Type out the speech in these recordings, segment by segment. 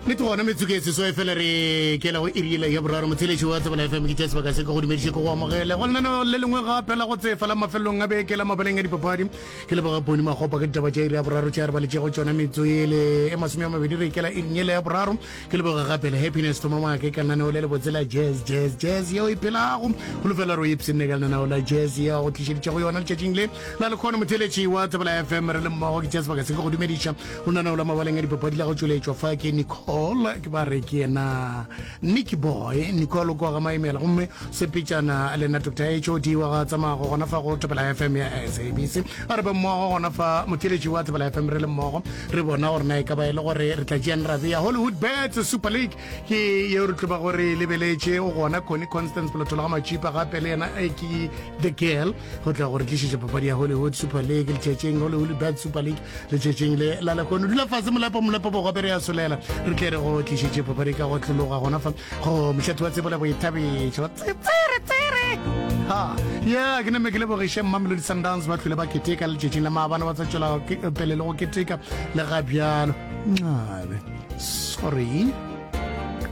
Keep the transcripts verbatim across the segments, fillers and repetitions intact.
Nnete gona metsotso e seswai fela re kela go iri yela ya boraro. Motheeletši wa Tsebela F M ke tšea sebaka se ke go dumediše ke go amogele go lenaneo le lengwe gape la go tsefa la mafelelong a beke la mabaleng a dipapadi. Ke leboga Poni Makgopa ka ditaba tša iri ya boraro tše a re baletšego tšona metsotso ele e masome a mabedi re kela iring yela ya boraro. Ke leboga gape le Happiness Thoma Maake ka lenaneo le lebotse la Jazz Jazz Jazz yeo e phelago. Holofela re o ipshinne ka lenaneo la Jazz yeo go tlišeditšego yona letšatšing le la lekgono. Motheeletši wa Tsebela F M re le mmogo ke tšea sebaka se ke go dumediša go lenaneo la mabaleng a dipapadi la go tšweletšwa fa ke Nicole ke ba re ke yena Nicky Boy Nicole kwa ga Maimela gomme sepetšana le nna Doctor H O D wa ga tsamago gona fa go Thobela F M ya S A B C. A re be mmogo gona fa motheeletši wa Thobela F M re le mmogo re bona gore na e ka ba e le gore re tla tšeang ra bea Hollywood Bets Super League ke yeo re tlo ba gore lebeletše o gona Connie Constance Polotolo ga Matšipa gape le yena e ke The Girl go tla gore tlišetša papadi ya Hollywood Super League letšatšing Hollywood Bets Super League letšatšing le la lekgono. Dula fase molepo molepo bo gape re a solela re tle re go tlišetše papadi ka go tlologa gona fa go mošate wa tsebo le boithabišo. Tsere tsere ha ya ke name ke lebogiše Mamelodi Sundowns ba tlhole ba keteka letšatšing la maabane ba tsa tšwela pele le go keteka le ga bjalo. Ncabe sorry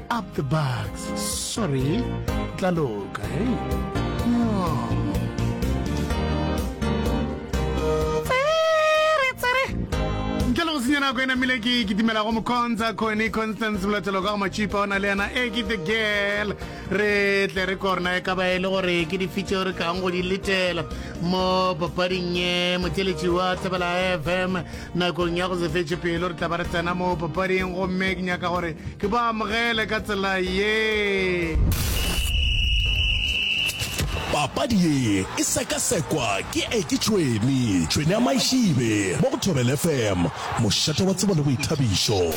up the bugs sorry tla loka hey. Ntle le go senya nako e namile ke kitimela go mokhonza Connie Constance Molatelo ka go Matšipa o na le yena e ke the girl re tle re korna e ka ba e le gore ke dife tšeo re kang go di letela mo papading ye motheeletši wa Thobela F M nakong ya go se fetše pelo re tla ba re tsena mo papading gomme ke nyaka gore ke ba amogele ka tsela ye. Papadi ye e sekasekwa ke Eki Tšhwene, Tšhwene ya Maišibe, mo go Thobela F M, mošate wa tsebo le boithabišo.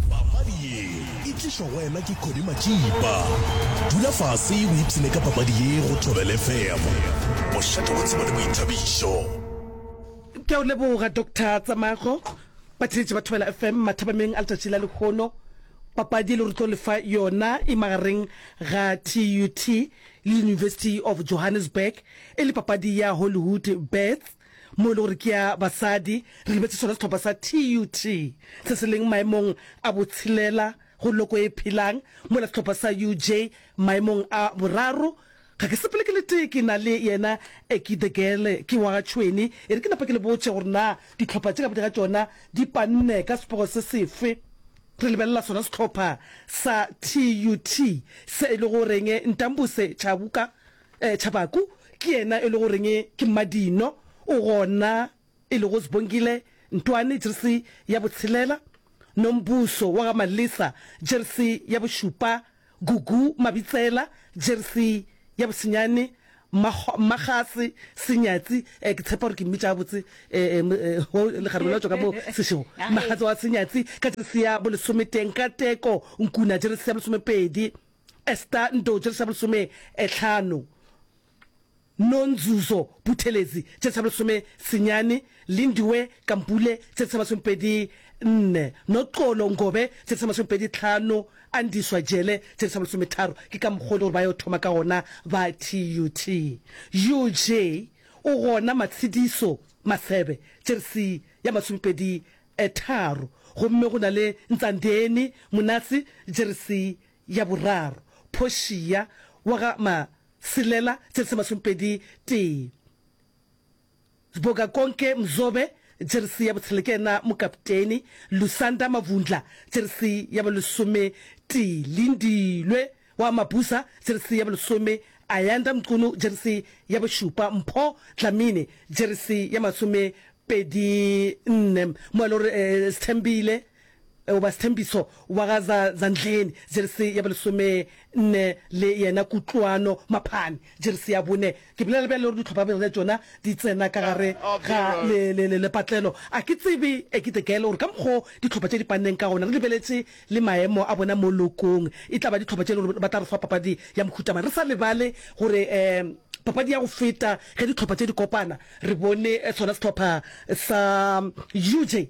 Papadi ye e tlišwa go wena ke Connie Matšipa. Dula fase o ipshine ka papadi ye go Thobela F M, mošate wa tsebo le boithabišo. Ke a o leboga Doctor Tsamago. Batheeletši ba Thobela F M mathabameng a letšatši la lehono. Papadi e le re tlo lefa yona e magareng ga T U T le University of Johannesburg e le papadi ya Hollywood Bets mo e le gore ke ya basadi. Re lebetše sona sehlopha sa T U T se se leng maemong a botshelela go loko e phelang, mola sehlopha sa U J maemong a boraro. Ga ke sepele ke le tee, ke na le yena Eki the Girl, ke wa ga Tšhweni. E re ke napa ke le botše gore na dihlopha tše ka bobedi ga tšona di panne ka sepego se sefe. Re lebelela sona sehlopha sa T U T se e le goreng Ntambuse Chabuka, eh, Chabaku ke yena e le goreng ke mmadino, o gona e lego Sibongile Ntwane jersi ya botshelela, Nombuso wa ga Malisa jersi ya bošupa, Gugu Mabitsela jersi ya bosenyane, Mmagase Senyatsi, eh, ke tshepa gore ke mmitša gabotse, eh, eh, lekgarebe la tšwa ka mo sešego, Mmagase wa Senyatsi ka jersi ya bolesometee, Nkateko Nkuna jersi ya bolesomepedi, Esther Ndo jersi ya bolesometlhano, Nonzuzo Buthelezi jersi ya bolesome senyane, Lindiwe Kampule jersi ya masomepedi nne, Noxolo Ngobe jersi ya masomepedi tlhano, Andiswa Jele jersi ya bolesometharo. Ke ka mokgwa o le gore ba yo thoma ka gona ba T U T. U J o gona Matshidiso Masebe jersi ya masomepedi tharo, gomme go na le Ntsandeni Monase jersi ya boraro, Portia wa ga Maselela jersi ya masomepedi tee, Sbogakonke Mzobe jersi ya botshela ke yena mokapteni, Lusanda Mavundla jersi ya bolesometee, Lindilwe wa Mabusa jersi ya bolesome, Ayanda Mqunu jersi ya bošupa, Mpho Dlamini jersi ya masomepedi nne, mo e le gore Sthembile goba Sthembiso wa ga Zandleni jersi ya bolesome nne le yena Kutlwano Maphane jersi ya bone. Ke bolela bjale gore dihlopha bjale tšona di tsena ka gare ga lepatlelo. A ke tsebe e ke the girl gore ka mokgo dihlopha tše di panneng ka gona re lebeletše le maemo a bona mo lokong e tla ba dihlopha tše e le gore ba tla re fa papadi ya mohuta mang. Re sa lebale gore um papadi ya go feta ge dihlopha tše di kopana re bone sona sehlopha sa U J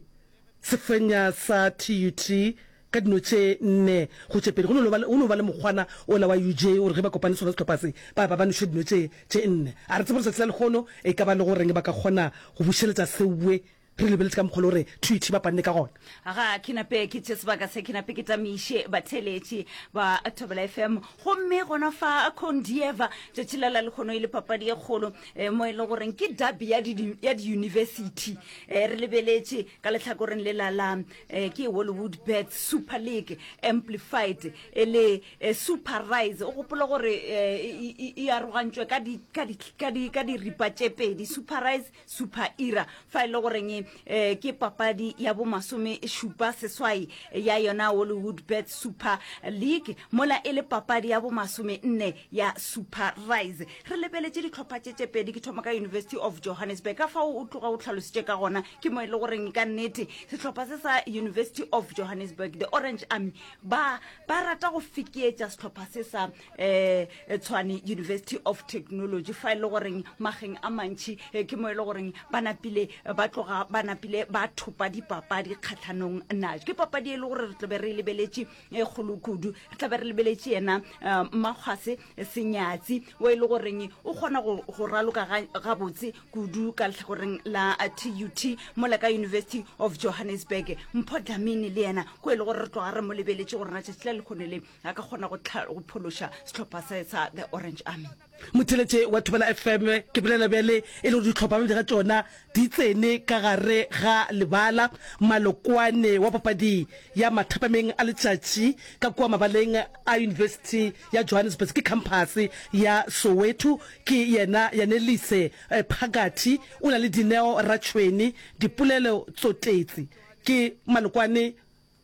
se fenya sa T U T ka dino tše nne go tše pedi. Go no ba le, go no ba le mokgwana ola wa U J gore ge ba kopane sona sehlopha se, ba, ba, ba noše dino tše, tše nne. A re tsebe gore tsatsi la lehono e ka ba le go reng ba ka kgona go bušeletša seowe Re lebeletše ka mokgwa le gore T U T ba panne ka gona. Ga ke nape ke tše sebaka se, ke nape ke tamiše batheeletši ba Thobela F M. Gomme gona fa Condieva, tšatši la la lekgono e le papadi e kgolo, eh, mo e le goreng ke derby ya di, ya di-university. Eh, re lebeletše ka lehlakoreng le la la eh, ke Hollywood Bets Super League Amplified e le eh, Super Rise. O gopola gore eh, e, e, e arogantšwe ka di, ka di, ka di, ka diripa tše pedi, Super Rise, Super Era, fa e le goreng eh, ke papadi ya bo masome šupa seswai ya yona Hollywood Bet Super League, mola e le papadi ya bo masome nne ya Super Rise. Re lebeletše dihlopha tše tše pedi. Ke thoma ka University of Johannesburg. Ka fao o tloga o tlhalositše ka gona, ke mo e le goreng ka nnete sehlopha se sa University of Johannesburg, the Orange Army, ba ba rata go fekeetša sehlopha se sa eh Tshwane University of Technology, fa e le goreng mageng a mantši eh, ke mo e le goreng ba napile ba tloga ba napile ba thopa dipapadi kgatlhanong najo. Ke papadi e le gore re tlabe re lebeletše e kgolo kudu. Re tlabe re lebeletše yena eh, Mmakgwase Senyatsi, o e le goreng o kgona go go raloka gabotse kudu ka lehlakoreng la T U T, mola ka University of Johannesburg Mpho Dlamini le yena ko e le gore re tloga re mo lebeletše gore na tšatši la lekgono le a ka kgona go go phološa sehlopha se sa the Orange Army. Motheletše wa Thobela F M, ke bolela bjale e le gore dihlopha bobedi ga tšona di tsene ka gare ga lebala. Malokwane wa papadi ya mathapameng a letšatši ka kua mabaleng a University ya Johannesburg ke khamphase ya Soweto ke yena Yanelise Phakathi, o na le Dineo Ratšhweni, Dipolelo Tsotetsi ke malokwane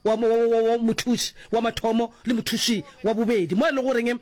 wa, wa, wa, wa mothuši wa mathomo le mothuši wa bobedi, mo e le goreng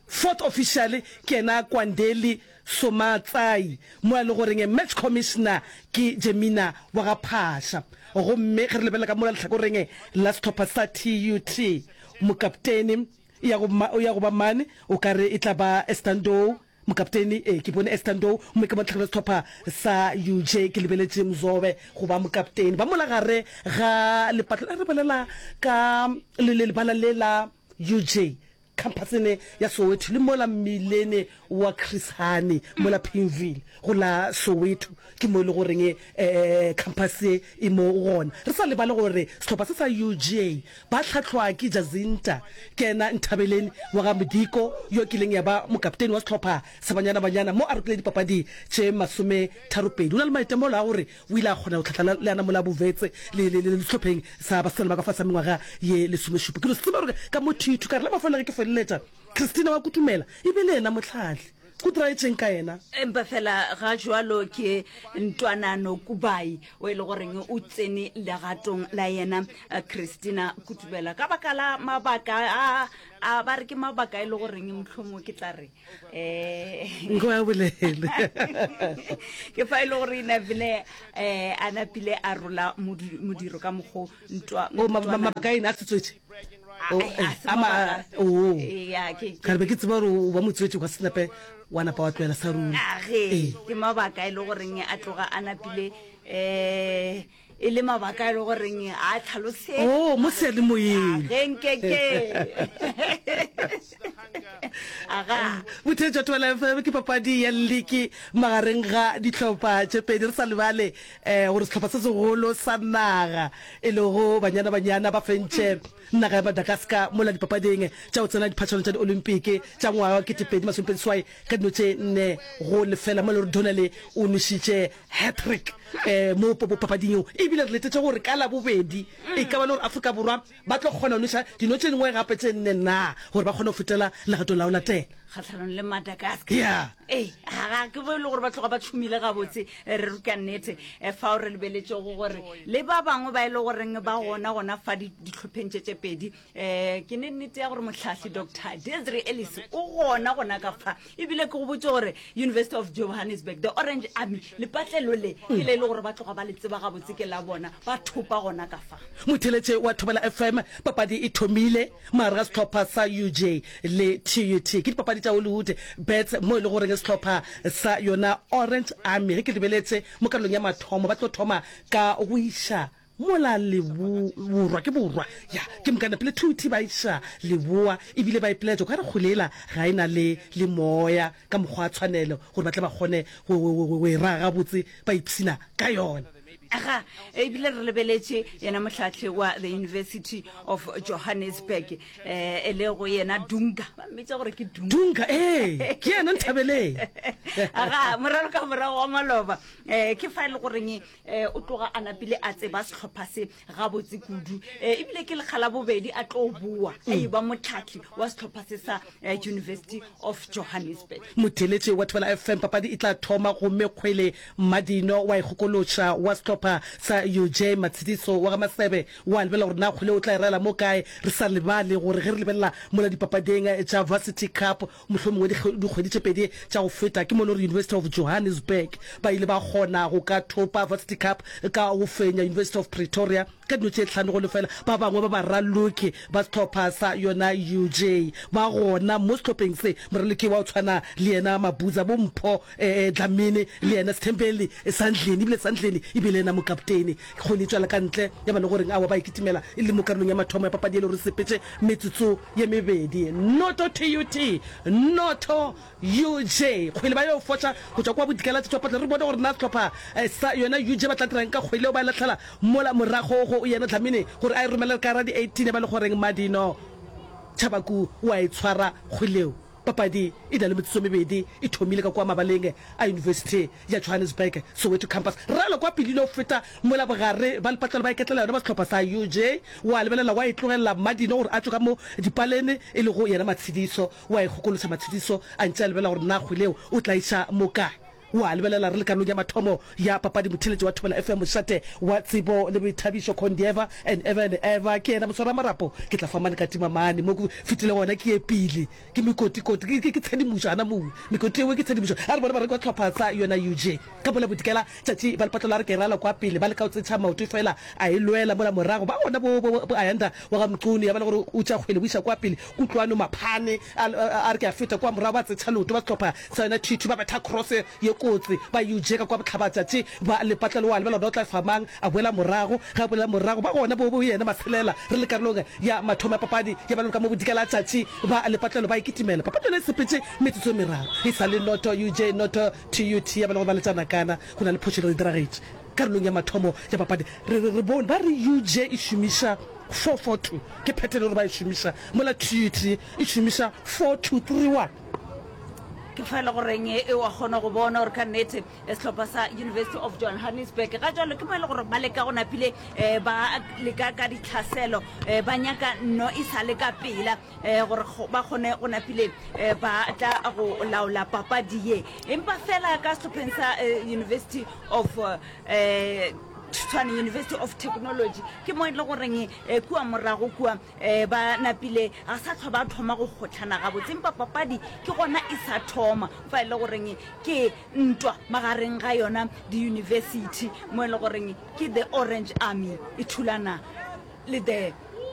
fourth official ke yena Kwandeli Somatsai, mo e le goreng match commissioner ke Jemina wa ga Phasha. Gomme ge re lebelela ka mola lehlakoreng la sehlopha sa T U T, mokaptene ya go, ya go ba mane o ka re e tla ba Estandou mokaptene. Ee, ke bone Estandou. Mme ka mo lehlakoreng la sehlopha sa U J ke lebeletše Mzobe go ba mokaptene. Ba mola gare ga lepatlo re bolela ka le le lebala le la U J campusene ya Soweto le mola mmilene wa Chris Hani mola Pimville go la Soweto, ke mo e le goreng um campus ye e mo gona. Re sa lebale gore sehlopha se sa U J ba hlahlwa ke Jacinta ke yena Nthabeleni wa ga Modiko, yo kileng ya ba mokaptene wa sehlopha sa Banyana Banyana mo a rokile dipapadi tše masome tharopedi. O na le maitemogelo a gore o ile a kgona go hlahla le ana mola bovetse le le le sehlopheng sa basetsana ba ka fase ga mengwaga ye lesomešupa. Ke no se tseba gore ka mo thithu ka re la mafelelo ge ke feleletša Christina wa Kutumela e be le yena mohlahli, go diraetšeng ka yena? Empa fela ga jwalo ke Ntwanano Kubai o e le goreng o tsene legatong la yena eh, Christina Kutubela ka baka la mabaka a a ba re ke mabaka e le goreng mohlomongwe ke tla re um Nko ya bolele. Ke fa e le gore napile um a napile a rola modu- modiro ka mokgo ntwa O ma- ma- mabaka a ene a setswetše. O, A- eh, a se a ma- mabaka. o. Ya, ke- Ka re be ke tseba gore o ba motswetše kwa senepe wa napa wa tlohela sa ruri. Age. Ee. Ke mabaka e le goreng a tloga a napile um e le mabaka e le goreng a tlhalose. O mo seyalemoyeng. Ge nkeke aga. Botheetša Thobela F M, ke papadi ya liki magareng ga dihlopha tše pedi. Re sa lebale um gore sehlopha se segolo sa naga e lego Banyana Banyana ba fentše naga ya Madagascar mola dipapading tša go tsena diphatšhano tša di-Olympic tša ngwaga wa ketepedi masomepedi swai ka dino tše nne go lefela, mo e le gore Donnelly o nwešitše hat-trick um mo papading yeo. Ebile re letetše gore ka Labobedi e ka ba le gore Afrika Borwa ba tlo kgona go nweša dino tše dingwe gape tše nne na gore ba kgone go fetela legatong la go latela. Kgatlhanong le Madagascar. Yeah. Ee, ga ke bo e le gore ba tloga ba tšhomile gabotse. eh, re ka nnete eh, fao re lebeletšego gore le ba bangwe ba e le goreng ba gona gona fa di- ditlhopheng tše tše pedi, um ke ne nnete ya gore mohlahli Doctor Desiree Ellis o gona gona ka fa. Ebile ke go botse gore University of Johannesburg, the Orange Army, lepatlelo le ke le e le gore ba tloga ba le tseba gabotse, ke la bona, ba thopa gona ka fa. Motheletše wa Thobela F M, papadi e thomile magare ga sehlopha sa U J le T U T. Ke dipapadi tša Hollywood Bets mo e le goreng sehlopha sa yona Orange Army, ge ke lebeletse mo karolong ya mathomo, ba tlo thoma ka go iša mola lebo borwa ke borwa ya ke mokana pele T U T ba iša leboa, ebile ba ipeletša ka re kgolela ga e na le le moya ka mokgwa wa tshwanelo gore ba tle ba kgone go e raga gabotse, ba ipshina ka yona. Aga, ebile re lebeletše yena mohlahli wa the University of Johannesburg, eh, e le go yena Dunga, ba mmitša gore ke Dunga. Dunga, ee, ke yena Nthabeleng. Aga, moralo ka morago wa maloba, eh, ke fa e le goreng, eh, o tloga a napile a tseba sehlopha se gabotse kudu, eh, ebile ke lekga la bobedi a tlo boa a e ba mohlahli wa sehlopha se sa, eh, University of Johannesburg. Motheeletši wa Thobela F M, papadi e tla thoma gomme kgwele Mmadino wa ikgokološa wa sehlopha sa U J Matshidiso wa ga Masebe wa lebelela gore na kgwele o tla e raela mo kae. Re sa lebale gore ge re lebelela mola dipapading tša Varsity Cup mohlomongwe dikgwedi tše pedi tša go feta ke mo e le gore University of Johannesburg ba ile ba kgona go ka thopa Varsity Cup ka go fenya University of Pretoria ka dino tše hlano go lefela. Ba bangwe ba baraloki ba sehlopha sa yona U J ba gona mo sehlopheng se. Moraloki wa go tshwana le yena Mabuza, bo Mpho Dlamini le yena Sthembeli Sandleni, ebile Sandleni e bile yena mokaptene. Kgwele e tšwela ka ntle ya ba le goreng aowa ba e kitimela e le mo karolong ya mathomo ya papadi e le gore sepetše metsotso ye mebedi. Noto T U T, noto U J. Kgwele ba yo foša go tšwa kwa bodikela tšwa patla. Re bone gore na sehlopha sa yona U J ba tla dirang ka kgwele yeo ba e lahlela mola morago go yena Dlamini gore a e romele ka ra di eighteen ya ba le goreng Madino Chabaku o a e tshwara kgwele yeo. Papadi e na le metsotso e mebedi e thomile ka kua mabaleng a Yunibesithi ya Johannesburg, Soweto Campus. Ralo kwa pele ile go feta mola bogare ba lepatlelo ba iketlela yona ba sehlopha sa U J. Wa lebelela wa e tlogelela Mmadino gore a tšwe ka mo dipalene e lego yena Matshidiso. Wa e kgokološa Matshidiso a ntše a lebelela gore na kgwele yeo o tla iša mo kae. Wa lebelela re le karolong ya mathomo ya papadi motheeletši wa Thobela F M mošate wa tsebo le boithabišo Condieva and ever and ever ke yena moswaramarapo ke tla fa mane ka tima mane mo ke fetile gona ke ye pele ke mekotikoti ke, ke, ke tshedimošo gana moo mekoti yeo ke tshedimošo a re bone bareki ba tlhopha sa yona U J ka mola bodikela tšatši ba lepatlo la re ke rala kwa pele ba leka go tsentšha maoto fela a e lwela mola morago ba gona bo, bo, bo Ayanda wa ga Mqunu ya ba le gore o tša kgwele o iša kwa pele Kutlwano Maphane a, a re ke a feta kwa morago ba tsentšha leoto ba sehlopha sa yona T two ba betha cross ye kotsi ba U J ka kwa bohlabatšatši ba lepatlelo wa lebela gona o tla fa mang a boela morago ge a boela morago ba gona bo bo yena Matshelela re le karolong ya mathomo ya papadi ya ba ka mo bodikela tšatši ba lepatlelo ba e kitimela papadi yona e sepetše metsotso e meraro e sa le noto U J noto T U T ya ba le gore ba letšana kana go na le phošo e diragetše karolong ya mathomo ya papadi re re re bone ba re U J e šomiša four four two ke pattern gore ba e šomiša mola T U T e šomiša four two three one. Ke fa e le goreng e wa kgona go bona gore ka nnete sehlopha sa University of Johannesburg ga jalo ke mo e le gore ba leka go napile ba leka ka ditlhaselo ba nyaka nno e sa le ka pela gore ba kgone go napile ba tla go laola papadi ye empa fela ka sehlopheng sa University of Tshwane University of Technology ke mo e le goreng kua morago kua ba napile ga sa tlhwa ba thoma go kgotlhana gabotse empa papadi ke gona e sa thoma fa e le goreng ke ntwa magareng ga yona di-university mo e le goreng ke the Orange Army e thulana le the